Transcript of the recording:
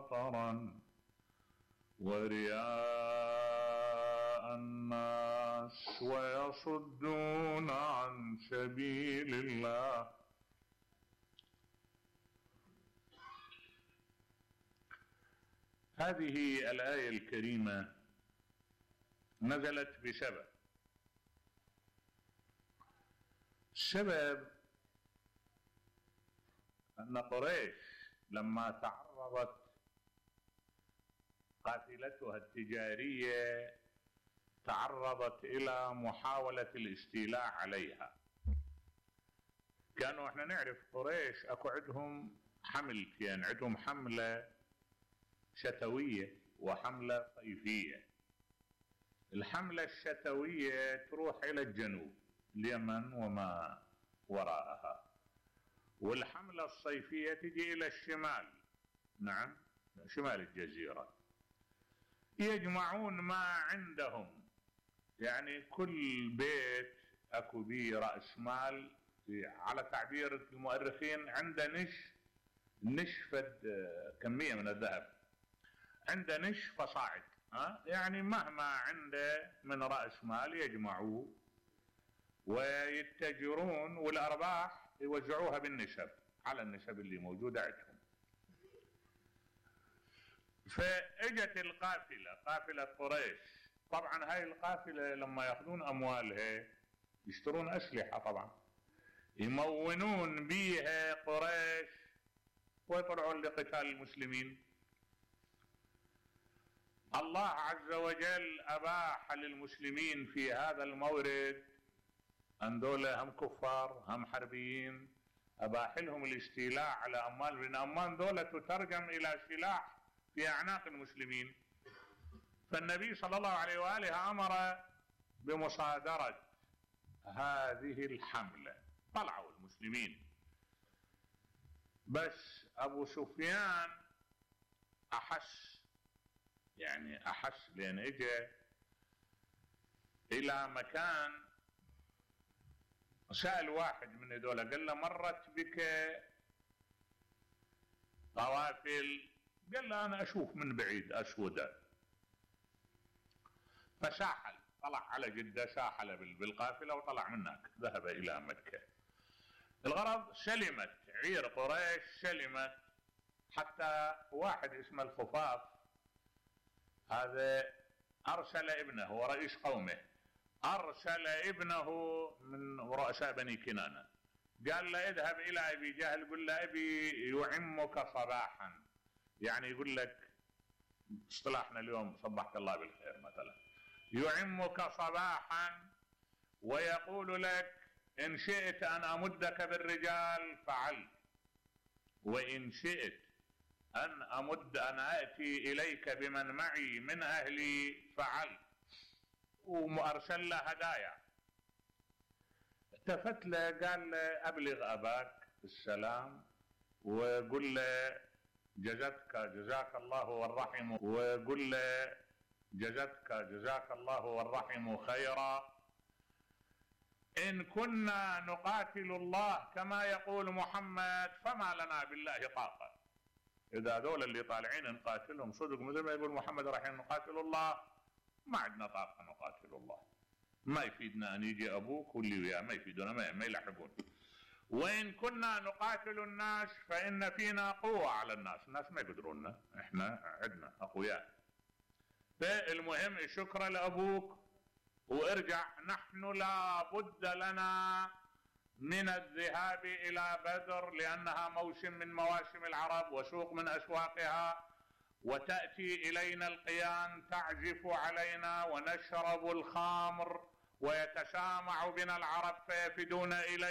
بطرا ورياء الناس ويصدون عن سبيل الله. هذه الآية الكريمة نزلت بسبب. السبب أن قريش لما تعرضت قافلتها التجارية تعرضت إلى محاولة الاستيلاء عليها. كانوا احنا نعرف قريش اكو عندهم حملتين، عندهم حملة شتوية وحملة صيفية. الحملة الشتوية تروح إلى الجنوب، اليمن وما وراءها، والحملة الصيفية تجي إلى الشمال، نعم شمال الجزيرة. يجمعون ما عندهم، يعني كل بيت اكو بيه رأس مال، على تعبير المؤرخين عنده نشفة كمية من الذهب، عنده نش فصاعد، يعني مهما عنده من رأس مال يجمعوه ويتجرون، والأرباح يوزعوها بالنسب على النسب اللي موجودة عندهم. فاجت القافلة، قافلة قريش. طبعا هاي القافلة لما ياخذون أموالها يشترون أسلحة، طبعا يمونون بيها قريش ويطلعون لقتال المسلمين. الله عز وجل أباح للمسلمين في هذا المورد أن دولة هم كفار هم حربيين، أباح لهم الاستيلاء على أموال، لأن أموال دولة تترجم إلى سلاح في أعناق المسلمين. فالنبي صلى الله عليه وآله أمر بمصادرة هذه الحملة. طلعوا المسلمين، بس أبو سفيان أحس لأن إجا إلى مكان، سأل واحد من هذول قال له مرت بك قوافل؟ قال له أنا أشوف من بعيد أسودة. فساحل، طلع على جدة، ساحل بالقافلة وطلع منك، ذهب إلى مكة. الغرض سلمت عير قريش، سلمت. حتى واحد اسمه الخفاف هذا أرسل ابنه، هو رئيس قومه، أرسل ابنه من رؤساء بني كنانة، قال له اذهب إلى أبي جهل قل له أبي يعمك صباحا، يعني يقول لك اصطلاحنا اليوم صبحك الله بالخير مثلا، يعمك صباحا ويقول لك إن شئت أن أمدك بالرجال فعلت، وإن شئت أن آتي إليك بمن معي من أهلي فعلت، وأرسل له هدايا. التفت له قال له أبلغ أباك السلام وقل له جزاك الله والرحم، وقل له جزاك الله والرحم خيرا. إن كنا نقاتل الله كما يقول محمد فما لنا بالله طاقة. إذا دول اللي طالعين نقاتلهم صدق مثل ما يقول محمد رايحين نقاتل الله، ما عندنا طاقة نقاتل الله، ما يفيدنا أن يجي أبوك واللي وياه، ما يفيدونا، ما يلحقون. وإن كنا نقاتل الناس فإن فينا قوة على الناس ما يقدروننا، إحنا عندنا أقوياء. فالمهم شكرا لأبوك وارجع، نحن لا بد لنا من الذهاب إلى بدر لأنها موسم من مواسم العرب وسوق من أسواقها، وتأتي إلينا القيان تعزف علينا ونشرب الخمر ويتسامع بنا العرب فيفدون إلينا.